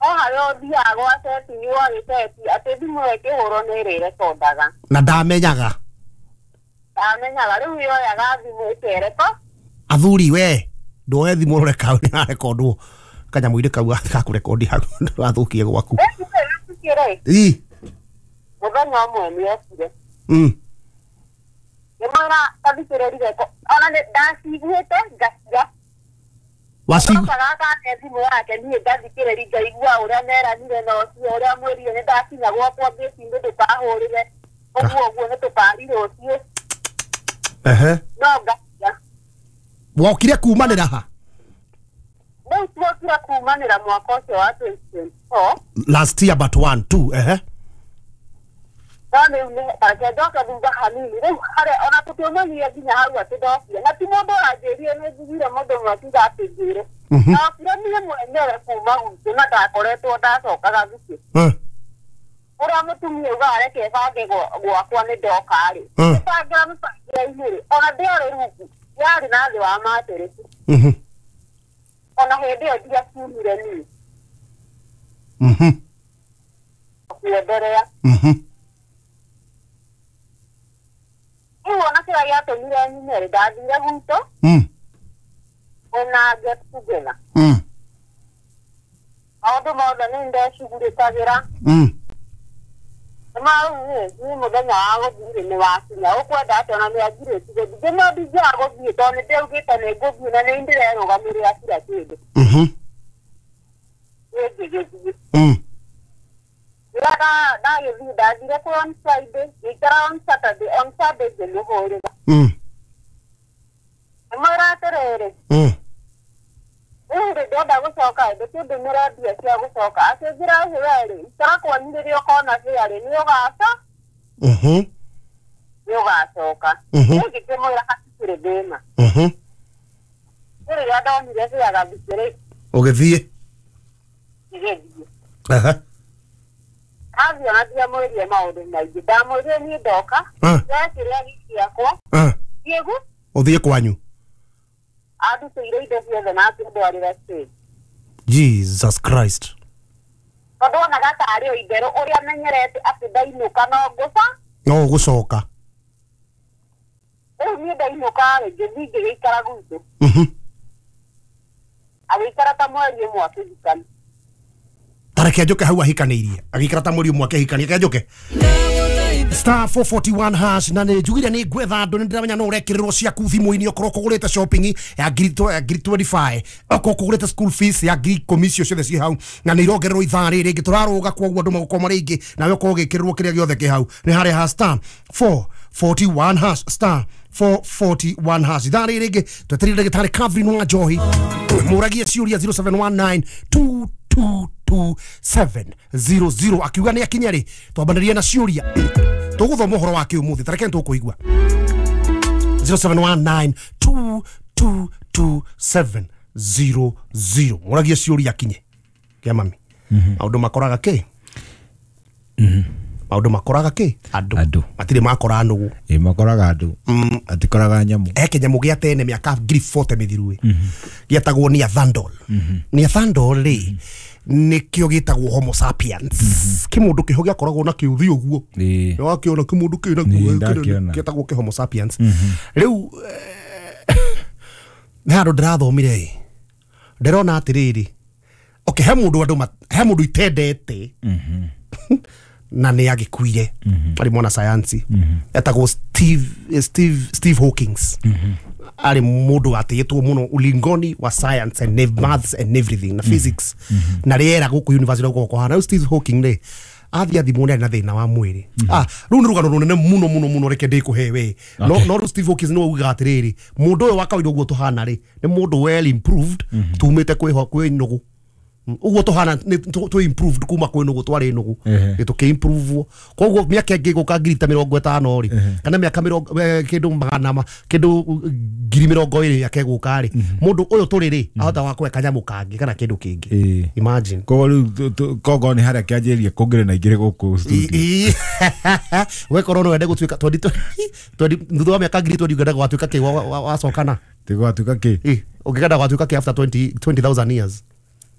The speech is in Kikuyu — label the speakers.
Speaker 1: O harĩa ũthiaga gwa setting gwagĩteti atĩ thimũ ĩyo ĩkĩhũrwo nĩ ĩrĩrekondaga.
Speaker 2: Na ndamenyaga.
Speaker 1: Ndamenyaga rĩu yoyaga thimũ ĩkereko.
Speaker 2: Athuri we nduoe thimũ ũrore kau nĩrarekondwo kanyamũ-inĩ kau gakũrekondi hau ndũrathũkie gwaku.
Speaker 1: Rĩ
Speaker 2: Ii.
Speaker 1: Mũthenya ũmwe nĩokire. Ngĩmwĩra tathikĩrĩrie ona nĩ ndaciguĩte ngaciga.
Speaker 2: Wacigu
Speaker 1: Cokaga akane thimũ yake niĩ ngathikĩrĩria ngaigua ũrĩa meranire na ũcio ũrĩa mwĩrire nĩ ndakinya gwakwa ngĩcinĩ ndũkahũrĩre ũguo ũguo nĩ tũkari rũciũ.
Speaker 2: Ehe.
Speaker 1: No ngaciga.
Speaker 2: Wokire kumanĩra ha?
Speaker 1: Rĩu tuokire kumanĩra mwaka ũcio wa 2024.
Speaker 2: Last year but one two. Ehe.
Speaker 1: No rĩu nĩ reke njoke thutha hanini rĩu harĩa ona tũtiũmanyire nginya hau atĩ ndokire na ti mũndũ ũranjĩrire nĩ njiguire mũndũ ũmwe akiuga atĩ njĩre. Ndokire niĩ mwenyewe kuma gwitũ na ndakoretwo ndacokaga thukĩ. Ũrĩa mũtumia augaga reke bange gwakwa nĩ ndoka rĩ. Ngĩbangĩra mĩbangĩre-inĩ rĩ ona ndĩarĩ rungu yarĩ na thĩ wa matĩrĩki. Ona hĩndĩ ĩyo ndiakiumire niĩ. Kuenderea. Rĩu ona kĩrĩa gĩatũmire nyume rĩ ndathire gwitũ kwĩna get together. Maũndũ mothe nĩ ndecugurĩkagĩra. Nĩma rĩu rĩ niĩ mũthenya wa gũthiĩ rĩ nĩ wakinya ũkwenda atĩa ona nĩ anjirĩtie gũthiĩ ngĩmwĩra ndingĩaga gũthiĩ tondũ nĩ ndĩraugĩte nĩ ngũthiĩ na nĩ ndĩrerũgamĩrĩra kila kĩndũ. Niĩ ngĩgĩthiĩ. Rĩrĩa ndagĩthiĩ ndathire kũ on Friday ngĩikara on Saturday on Sunday ngĩmũhũrĩra. Ngĩmwĩra atĩrĩrĩ rĩu rĩ ndĩrenda gũcoka ĩ ndũkĩndũmĩre mbia cia gũcoka akĩnjĩra ĩhĩ we rĩ ikara kwanyu rĩrĩa ũkona mbia rĩ nĩ ũgaca nĩ ũgacoka. Niĩ ngĩkĩmwĩra hatikĩrĩ thĩna. Rĩu rĩrĩa ndonire mbia gathikĩ rĩ
Speaker 2: Ũgĩthiĩ.
Speaker 1: ngĩgĩthiĩ.
Speaker 2: Ehe.
Speaker 1: Ndathiĩ ona ndiamwĩrire maũndũ maingĩ ndamwĩrire niĩ ndoka ndekĩrĩa gĩkĩ gĩakwa thiĩ gu
Speaker 2: Ũthiĩ kwanyu.
Speaker 1: Andutĩire indo ciothe na akĩndwarĩra stage.
Speaker 2: Jesus Christ.
Speaker 1: Tondũ onaga tarĩ o itherũ ũrĩa menyerete atĩ ndainũka no ngũca.
Speaker 2: No ũgũcoka.
Speaker 1: Rĩu niĩ ndainũka rĩ ngĩthiĩ ngĩgĩikara gwitũ. Agĩikara ta mweri ũmwe akĩhikania.
Speaker 2: Ta reke njoke hau ahikanĩirie. Agĩikara ta mweri ũmwe akĩhikania. Reke njoke. Star 441 hash na nĩ njugire nĩ ngwetha andũ nĩ ndĩramenya no ũrekĩrĩrwo ciaku thimũ-inĩ okorwo kũgũrĩte shopping ya ngiri 25 okorwo kũgũrĩte school fees ya ngiri 10 icio ciothe ciĩ hau na nĩ irongererwo ithaa rĩrĩ rĩngĩ tũrarũga kwoguo andũ magũkorwo marĩ aingĩ nawe ũkorwo ũgĩkĩrĩrwo kĩrĩa gĩothe kĩ hau nĩ harĩa ha star 441 hash star 441 hash ithaa rĩrĩ rĩngĩ twetereire ndagĩtarĩ Catherine wa Njohi mũragie ciũria 0719 222 700 akiuga nĩ akinya rĩ twambanĩrie na ciũria tũgũthoma ũhoro wake ũmũthĩ tareke nĩ tũkũigua 0719 222 700 mũragie ciũria akinye kĩa mami maũndũ makoraga kĩ maũndũ makoraga kĩ andũ matirĩ makora nũgũ.
Speaker 3: Ĩ makoraga andũ atikoraga nyamũ.
Speaker 2: He kĩnyamũ gĩa tene mĩaka 40,000 mĩthiru ĩ gĩetagwo Neanderthal. Neanderthal rĩ nĩkĩo gĩtagwo Homo sapiens. Kĩmũndũ kĩho gĩakoragwo na kĩũthi ũguo. Nĩwakĩona kĩmũndũ kĩna guo gĩtagwo kĩ Homo sapiens. Rĩu nĩ handũ ndĩrathomire ĩ ndĩrona atĩrĩrĩ okay he mũndũ andũ he mũndũ itendete na nĩ agĩkuire arĩ mwana sayansi etagwo Steve Hawkins. Arĩ mũndũ watĩĩtwo mũno ulingoni wa science and maths and everything na physics na rĩera gũkũ university gũkũ kũhana. Rĩu Steve Hawking rĩ athiĩ athimwo nĩ arĩ na thĩna wa mwĩrĩ. Rĩu nĩ rũgano rũnene mũno mũno mũno reke ndĩkũhe we. No rĩu Steve Hawkins nĩwe ugaga atĩrĩrĩ mũndũ ũyũ wa kawaida ũguo tũhana rĩ nĩ mũndũ well improved tumĩte kwĩ nũgũ ũguo tũhana tũ improved kuma kwĩ nũgũ twarĩ nũgũ tũkĩ improve koguo mĩaka ĩngĩ gũka ngiri ta 50 rĩ kana mĩaka kĩndũ magana kĩndũ ngiri 20 yake gũka rĩ mũndũ ũyũ tũrĩ rĩ ahota wa kweka kanyamũ kangĩ kana kĩndũ kĩngĩ. Imagine
Speaker 3: koguo rĩu koguo nĩ harĩa kĩanjĩrĩria kũngĩrĩ na igĩrĩ gũkũ studio
Speaker 2: wekorwo no wende gũtuĩka thutha wa mĩaka ngiri 20 ũngĩenda gwatuĩka kĩ wacokana
Speaker 3: tigwatuĩka kĩ
Speaker 2: ũngĩenda gwatuĩka kĩ after 20,000 years.